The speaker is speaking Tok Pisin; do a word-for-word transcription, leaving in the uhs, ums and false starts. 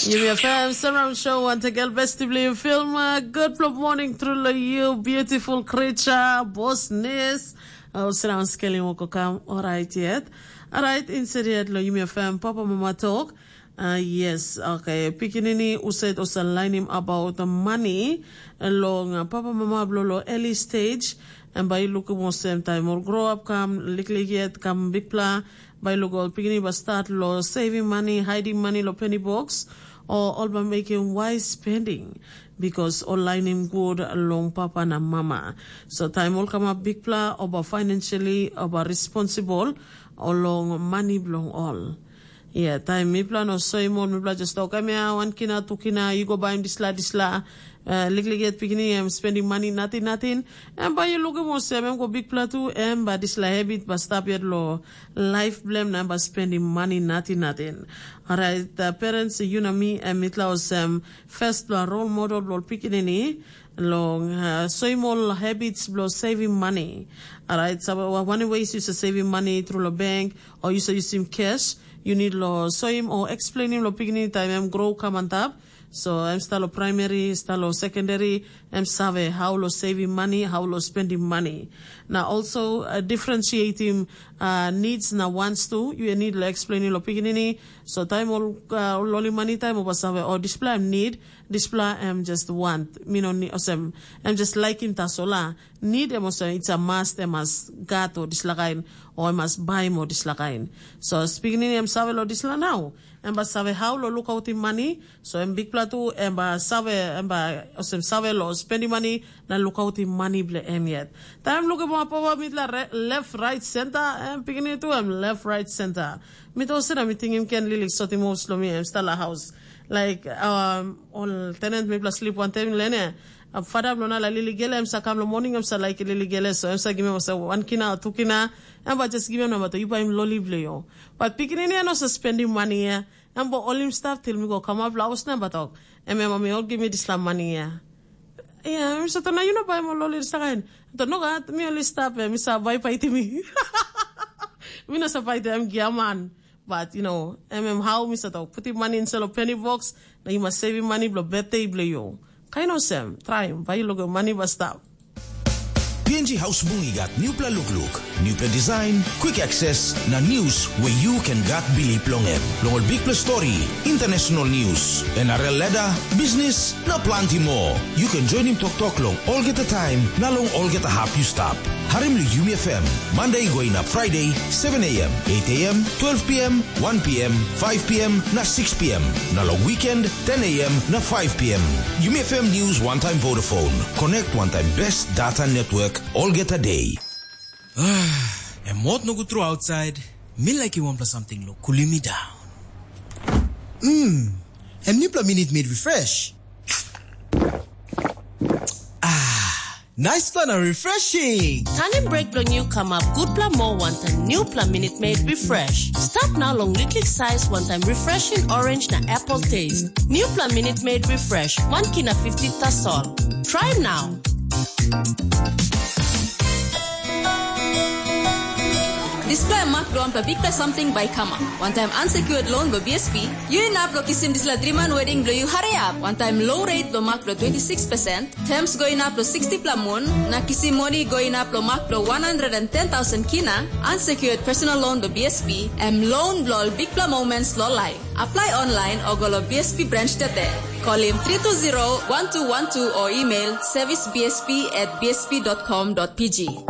Yumi F M Surround Show, once again, best to believe film. Uh, good morning through lo you, beautiful creature, boss ness. Oh, surround scaling woko kam. All right, yet. All right, inside yet lo Yumi F M, Papa Mama Talk. Uh, yes, okay. Pikinini usaid osa lainim about the money. Long uh, Papa Mama blo lo early stage. And by look mo same time or grow up kam liklik yet kam big pla. Bai lo ol pikinini bai start lo saving money, hiding money lo penny box, o ol bai mekim wise spending, because ol lainim good long papa na mama. So taim ol kamap bikpela, ol bai financially, ol bai responsible, o long money bilong ol. Yeah, taim mipela no soim ol, mipela just tok, em ya, wan kina, tu kina, yu go baim disla, disla, uh, liklik yet pikinini, em spending money, nating, nating, em bai yu lukim olsem, em go bikpela tu, em bai disla habit bai stap yet lo life blem na em bai spending money, nating, nating. Alright, uh, parents, yu na mi, em mitla olsem, first pela role model blo pikinini, long uh, soim ol habits blo saving money. Alright, so uh, one way is saving money through lo bank, or you say you sim cash, you need lo soim or explaining lo pikinini time em grow come on top. So em start lo primary, start lo secondary, em save how lo saving money, how lo spending money. Now also uh, differentiating uh, needs na wants too. You need lo explaining lo pikinini. So time all uh, loli money time over save or display em need, display em just want. Mi no need osem, em just like him tasola. Need em osem, it's a must, em must gat or dislakain, or em must buy mo dislakain. So pikinini em save lo disla now. Em ba save how lo look out him money. So em big pla tu, em ba save, em ba osem save lo spending money na look out him money ble em yet. Time look em up over mid la re- left, right, center. Em pikinini tu em left, right, center. Mi to sina mi tingim ken lilik sotim house lo mi em stala house. Like um, all tenant mi pla sleep one time lene. Fada bilong na la lili gele em sa kam lo morning em sa laik lili gele so em sa givim em sa wan kina tu kina. Em ba just givim namba tu yu baim loli bilong yu. But pikinini em no sa spending money ya. Em ba olim stap til mi go kamap lo haus na em ba tok. Em em mi ol givim mi disla money ya. Ya, em sa tona yu no baim ol loli disla kain. To no gat mi ol stap em mi sa bai paiti mi. Mi no sa paiti em giaman. But you know, em em how mi sa tok putim money inside lo penny box, na yu mas saving money bilong birthday bilong yu. Kain olsem, traim, bai yu lukim money bai stap. P N G House Bung i gat newpela lukluk, newpela design, quick access, na news where you can gat bilip long em. Long ol bikpela story, international news, N R L ladder, business, na planti more. You can join him tok tok long olgeta time, na long olgeta hap you stap. Harim Yumi F M, Monday going up Friday, seven a.m., eight a.m., twelve p.m., one p.m., five p.m., na six p.m. Na long weekend, ten a.m. na five p.m. Yumi F M News one time Vodafone. Connect one time best data network olgeta day. Em mot nogut tru outside. Mi like wanpela something lo cooling me down. Mm. Em newpela minute made refresh. Ah, nice plan and refreshing. Tanim break bilong yu kamap gutpela moa wantaim newpela Minute Maid Refresh. Stap nau long liklik sais wantaim refreshing orange na apple taste. Newpela Minute Maid Refresh, wan kina fifty tasol. Try now. Dispela mak bilong wanpela bikpela samting bai i kamap. Wantaim unsecured loan bilong B S P, yu inap long kisim dispela driman wedding bilong yu hariap. Wantaim low rate bilong mak bilong twenty six percent, terms go inap long sixty pela mun, na kisim moni go inap long mak bilong one hundred and ten thousand kina, unsecured personal loan bilong B S P, em loan bilong ol bikpela moments long life. Apply online o go long B S P branch tete. Call him three two zero one two one two o email service B S P at B S P dot com dot P G.